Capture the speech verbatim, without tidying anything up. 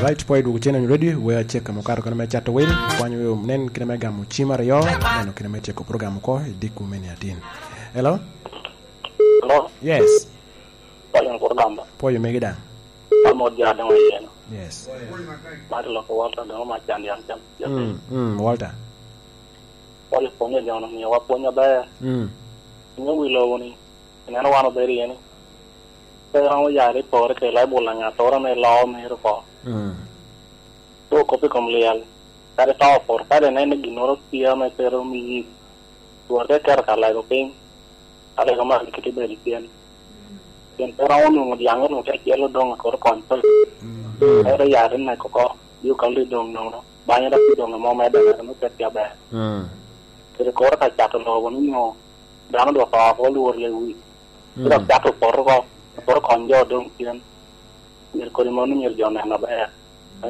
Right, pwod idwogo cen onyo ready, we acek kamo kato kene me cato wil, kwanyo yo nen kene me gamo cim aryo, neno kene me tyeko program oko, i dikku me niatin. Hello? Hello? Yes. Pwod in kuro gamba. Pwod omegi daŋ. Amo ja doŋ ayeno. Yes. Mar loko Walter doŋ ma can yan can. Mm, mm, Walter. Pwod ipwonyo jo no, miyo wa pwony aber. Mm. Inyo wi lobo ni, ineno wan obedo iye ni. Pe romo yare i pore kede Baibul na ŋattoro ame loo mere oko. Mm. Dwok kop i kom lyel, kadi to opoto, kadi ineno ginnoro tye ame kelo omiyi, twor te keto ka lego piny, ka lego man kite bedo i tyen. Pien pe romo nwoŋo dyaŋe nwoŋo te acel odoŋ akot kony pe. Mm. Ento yare nek oko, bi okal i doŋ nono, banya dok i doŋ amo medde medde me pet tye aber. Mm. Kede koro ka cato lobo ni nyo dano dwoko oko lwor lewi. Mm. Dok cato opoto oko, opoto kony jo odoŋ tyen. Myero kodi mano myero jo onen aber.